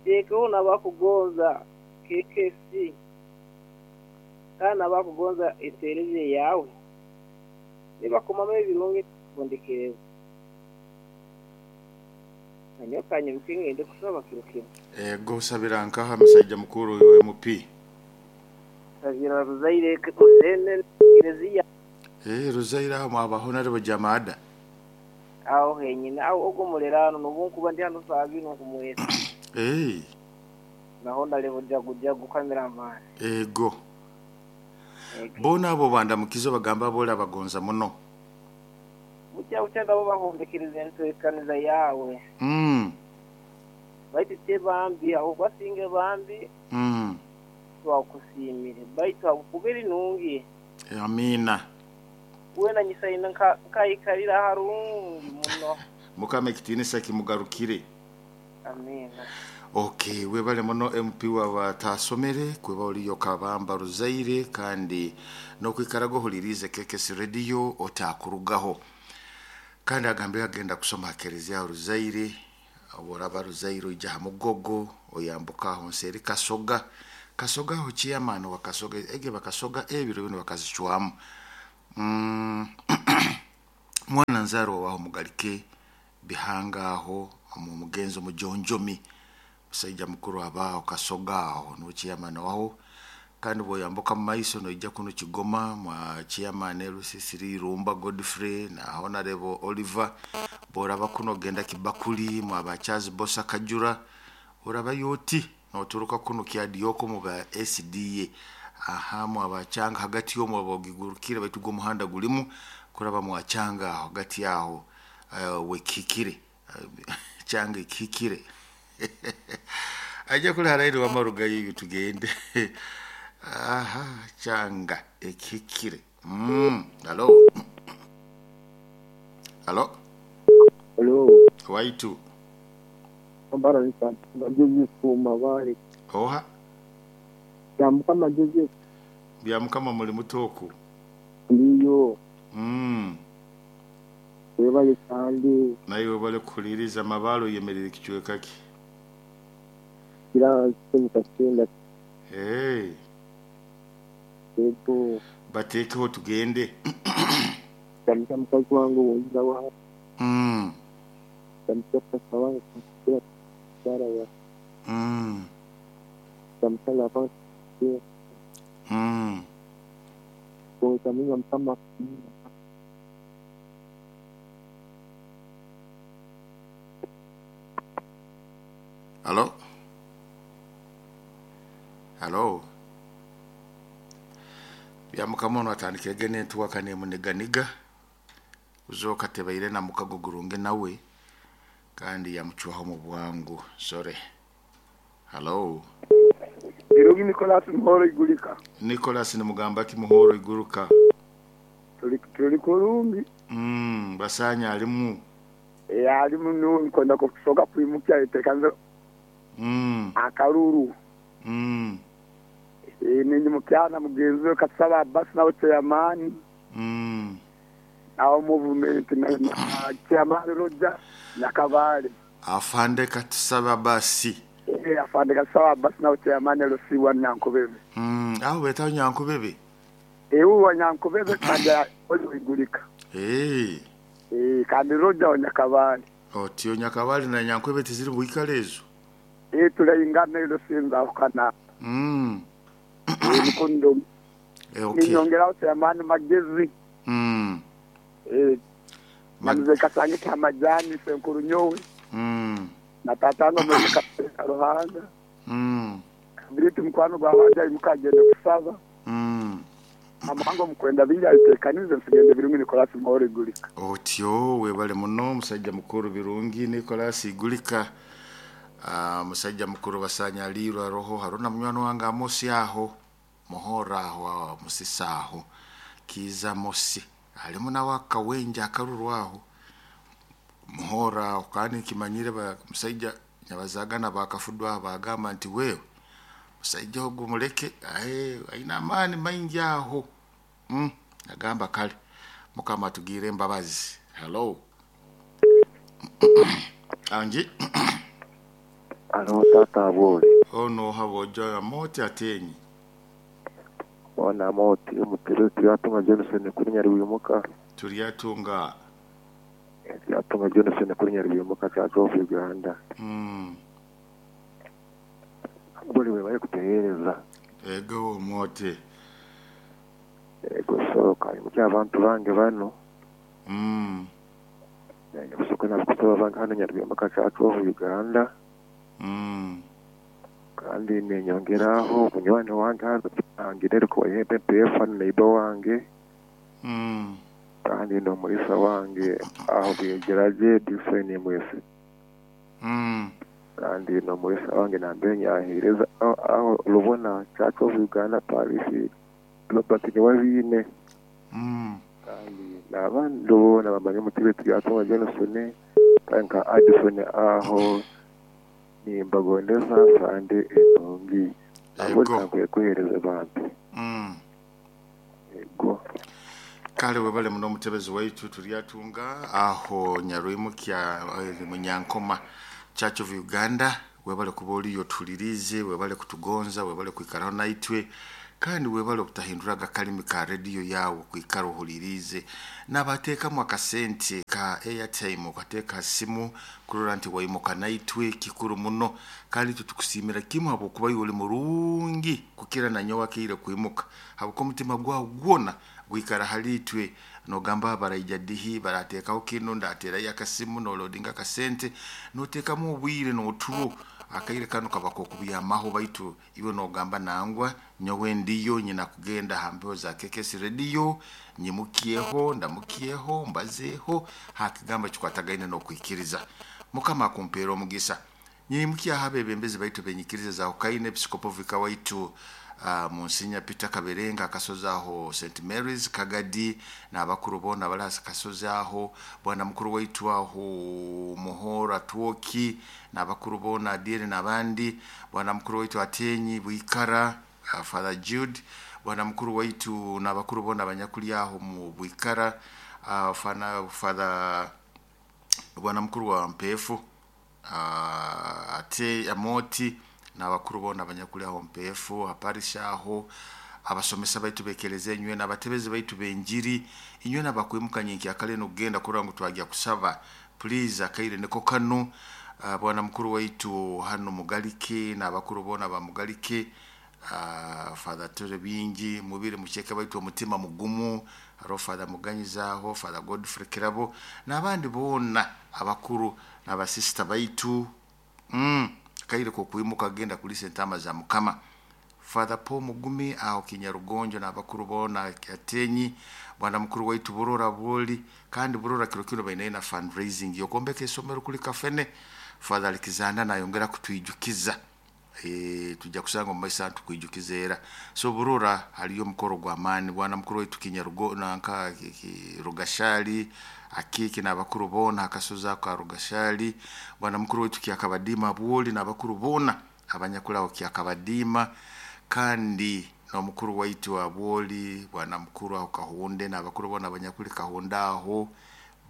Nteekeho n'abakugonza KKC kandi n'abakugonza enteereza yaawe nibakomamu ebirungi kundekereza. Nanyowe kanyimuke ngende kusaba kiro kinu. Ego osabira nkaha musaija mukuru iwe MP? Nsabira Ruzaire Hussein Kereziya. Eeh Ruzaire aho mwaba Honarebo Jamada? Aho henyini aho ogwo omuliraano n'obunkuba ndi hano saaha binu nkumweta. Eeh. Na Honarebo Jagujagu Cameraman. Ego. Boona abo obandamukize obagambe abu orabagonza muno. Bukya bukya nabo bahondekerize entwekaniza yaawe. Baitu te bambi, habwokuba singa bambi, twakusiimire. Baitu habwokuba eri nungi. Amiina. Weena nyisaine nkaikarira harungi muno. Mukama ekitiinisa kimugarukire. Amiina. Ok webale muno MP wabataasomere kuba oriyo Kabamba Ruzaire kandi nokwikaraga ohuliriize KKC Radio otakurugaho. Kandi agambire agenda kusoma ha Kereziya Ruzaire, obworaba Ruzaire oija ha Mugogo oyambuka aho nseeri Kasoga, Kasoga aho chairman wa Kasoga ege bakasoga ebiro binu bakazicwamu. Mwana nzaarwa waho Mugalike Bihanga aho omu mugenzi omujonjomi musaija mukuru aba aho Kasoga aho nuwe chairman waho kandi bwoyambuka mumaiso noija kunu Kigoma mwa chairman LC3 Irumba Godfrey na Honorable Oliver bworaba kunu ogenda Kibakuli mwaba Charles Bosa Kajura orabayo oti noturuka kunu Kyadioko muba SDA aha mwaba Changa hagati omwo oba ogigurukire baitu gwo omuhanda gulimu kuraba mwa Changa aho hagati aho wekihikire Changa ekihikire aija kuli harairi wama rugayo iwe tugende aha Changa ekihikire halo halo. Halo. Waitu. Ambara Joseph Mabare. Oha? Byamukama Joseph. Byamukama muli muta oku? Ndiyo. Webale kandi. Naiwe webale kuhuliriza. Mabale oyemereire kicweka ki? Kira Kasinda. Hey. Yego. Batekeho tugende. Ndamuka mukazi wange owonza wa. Ndamuka papa wange mukyala wa. Ndamuka laba. Otamenya Mukama. Halo? Halo? Byamukama ono atandikirege n'entuwaka nemuniganiga kuzooka tebaire na mukago gurungi nawe kandi yamucwaho mu bwangu sore. Halo? Birungi Nicholas Muhoro Igurika. Nicholas nimugamba ki Muhoro Iguruka? Tuli kurungi. Basanya alimu. Alimu nuwe nkwenda kusoka kwimukya itekanze. Akaruru. Ninyi mukyana mugenzi we Katusaba Abbas nawe chairman. Awo movement na chairman Roger na Kabale. Afande Katusaba Abbas. Afande Katusaba Abbas nawe chairman LC1 Nyankubebe. Aho betaho Nyankubebe. Uwa Nyankubebe kandi oli Igurika. Kandi Roger wa Nyakabale. Otyo Nyakabale na Nyankubebe tiziri bwikale ezo. Tulaingana ilo sinza kana. Nikondo. Okay. Ninyongera chairman Magezi. Manuze kasange kamajani senkuru nyowe. Na tatanga mwe Ruhanga. Kabiriti mukwano gwa bajja mukagenda kusaba. Amango mukwenda bingi ayitekanize nsigende Birungi Nicholas Muhoro Igurika. Otyo webale muno musajja mukuru Birungi Nicholas Igurika. Musajja mukuru basanya alirwa roho haruna munywani wange Amosi aho Muhoro aho Musisa aho Kiza Mosi alimu nawe akawenja akaruru aho Muhoro aho kandi kimanyire musajja nyabazagana bakafudwa bagamba nti wewe musajja ogwo muleke aina amaani maingi aho. Agamba kale Mukama atugire embabazi. Hello. Anji. Alo tata aboli. Ono habojo amoti atenyi. Ona moti omutebe Turyatunga Johnson kuri Nyarwimuka. Turyatunga. Turyatunga Johnson kuri Nyarwimuka Church of Uganda. Buli we bari kutehereza. Ego moti. Ego soka imuki abantu bange bano. Nyabusoka nabukusaba bange hano Nyarwimuka Church of Uganda. Kandi nenyongeraho munywani wange angirere ko PPF neighbor wange. Kandi no murisa wange aho bigeraje different mwese. Kandi no murisa wange nambe nyahereza aho rubona Church of Uganda Paris Robert Niwabine. Kandi nabandi bona bamanye mutibe Turyatunga Johnson tanka Addison aho nimbagondeza sande enongi abo ntakwiye kuhereza abantu. Ego kale webale muno mutebezi waitu Turyatunga aho Nyarwimukya Munyankoma Church of Uganda. Webale kuba oliyo tulirize, webale kutugonza, webale kwikaraho naitwe, kandi webale okutahinduraga kalimi ka radio yawe kwikara ohulirize. Nabateekamu akasente ka airtime okateeka simu kurora nti waimuka naitwe kikuru muno. Kandi tutukusiimira kimwe habwokuba iwe oli murungi kukira nanyowe akaire kwimuka, habwokuba omutima gwawe gwona gwikara hali itwe. Nogamba baraija dihi barateekaho kinu ndaterayo akasimu nolodinga akasente noteekamu obwire noturo akaire kano kabaka okubiyamaho baitu iwe nogamba nangwa nyowe ndiyo nyina kugenda hambeho za KKS radio nyimukieho ndamukieho mbazeho hakigamba kikwatagaine nokwikiriza. Mukama akumpeera omugisa. Nyimukia habe bembezi baitu benyikiriza za Hokaine Episcopal Vicar waitu Monsignor Peter Kaberenga akasozi aho St Mary's Kagadi n'abakuru bona bali akasozi aho, bwana mukuru waitu aho Muhora Twoki n'abakuru bona Adiere n'abandi, bwana mukuru waitu Atenyi Bwikara Father Jude, bwana mukuru waitu n'abakuru bona abanyakuli aho mu Bwikara Father bwana mukuru wa Mpefu ate Amoti n'abakuru bona abanyakuli aho Mpefu aparisha aho, abasomesa baitu bekereze enywe n'abatebezi baitu benjiri inywe n'abakwimukanye nkyakale nokugenda kurora ngu twajya kusaba please akaire niko kano. Bwana mukuru waitu hano Mugalike n'abakuru bona ba Mugalike Father Ture bingi mubire mukeke baitu omutima mugumu haro Father Muganyizaho Father Godfrey Kirabo n'abandi bona abakuru n'abasista baitu kaire ko kwimuka genda kuli sentama za Mukama. Father Paul Mugumi aho Kinyarugonjo n'abakuru bona Atenyi, bwana mukuru waitu Burora Boli kandi Burora kiro kino bainaye na fundraising yokombeka esomero kuli kafene. Father Alexander nayongera kutwijukiza tujja kusanga mu maiso tukwijukiza era. So Burora haliyo omukoro gwa maani bwana mukuru waitu Kinyarugo nanka Rugashali akiki n'abakuru bona akasozi ako ka Rugashali, bwana mukuru waitu Kyakabadima Bwoli n'abakuru bona abanyakulaho Kyakabadima, kandi n'omukuru waitu wa Bwoli bwana mukuru aho Kahunde n'abakuru bona abanyakuli Kahunde aho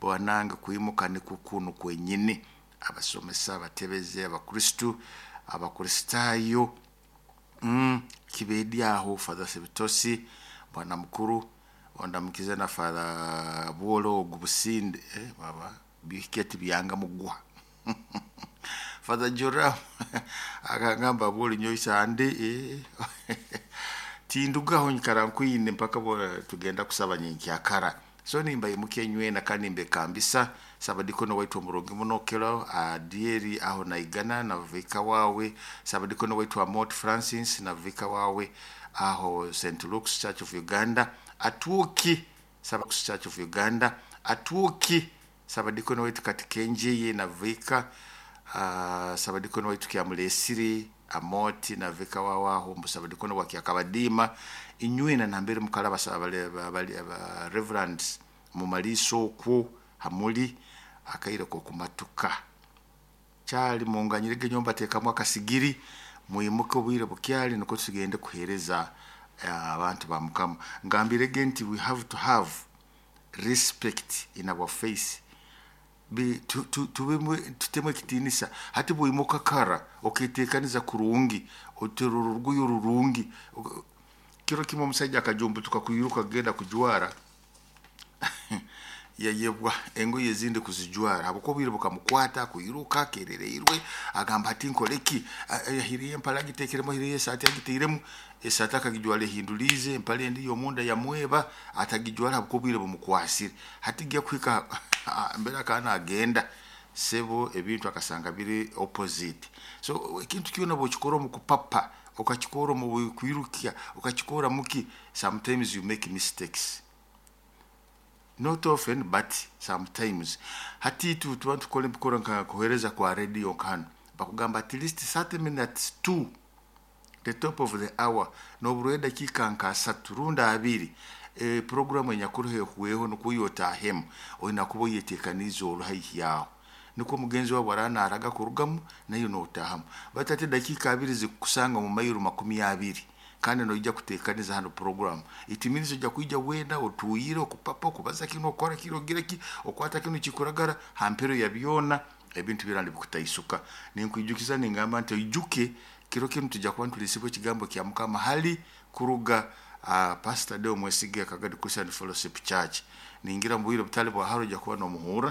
bwanange kwimuka ni kukunu kwenyini. Abasomesa abatebeze abakristu abakristayo kibedi aho Father Sebitosi bwana mukuru ondamukize na Father Bwolo ogubusinde baba biketi byanga mugwa Father Joram akagamba Bwoli nyoisa ande tindugaho nyikara nkwine mpaka tugenda kusaba nyenkyakara. So nimba imuke nywena kandi mbe kambisa sabadikono waitu omurongi munokero Adieri aho naigana na vika wawe, sabadikono waitu Amot Francis na vika wawe aho St Luke's Church of Uganda atuki Church of Uganda atuki sabadikono waitu Katikenjeye na vika sabadikono waitu Kyamulesiri Amoti na vika wawe aho musabadikono wa Kyakabadima inywena nambere mukalaba aba reverends mumaliso okwo hamuli akaire ko kumatuka kyali munganyirege nyomba tekamu akasigiri muyimuke obwire bukyali niko tugende kuhereza abantu ba Mukama. Ngambirege nti we have to have respect in our face. Tubemu tutemu ekitiinisa. Hati bwimuka kara, oketekaniza kurungi, otera orugoye rurungi. Kiro kimwe omusajja akajumbutuka kwiruka kugenda kujwara, yayebwa engoye ezindi kuzijwara habwokuba obwire bukamukwata kwiruka akerereirwe. Agamba, "Hati nkoleki?" Ahireyo empale agitekeremu, ahireyo esaati agiteiremu. Esaati akagijwara ehinduliize, empale endi yomunda yamweba, atagijwara habwokuba obwire bumukwasire. Hati gya kuhika mbere akaba nagenda, sebo, ebintu akasanga biri opposite. So ekintu kyona bwokikora omu kupapa, okakikora omu kwirukya, okakikora muki, sometimes you make mistakes. Not often, but sometimes. Hati tuba tukora ebikora nka kuhereza kwa radio nkano, bakugamba at least 30 minutes to the top of the hour, noburwa edakiika nka 30 rundi 20, programu enyakuru ehweho, nukwo yotahemu oyina kuba oyetekaniize ori haihi yaho, nikwo mugenzi wawe ara naraga kurugamu nayo notahamu. Baitu ati edakiika 20 zikukusanga mu mayiro 20, kandi noija kutekaniza hano program, it means ojja kwija wenda otuyire, okupapa, okubaza kino, okora kino, ogira ki, okwata kino kikuragara. Hampero ya byona ebintu byona nibikutaisuka. Ninkwijukiza ningamba nti oijuke kiro kinu tujja kuba nitulisibwa ekigambo kya Mukama hali kuruga Pastor Deo Mwesige, Kagadi Christian Fellowship Church. Ningira mu bwire butali bwa haro ojja kuba nomuhurra.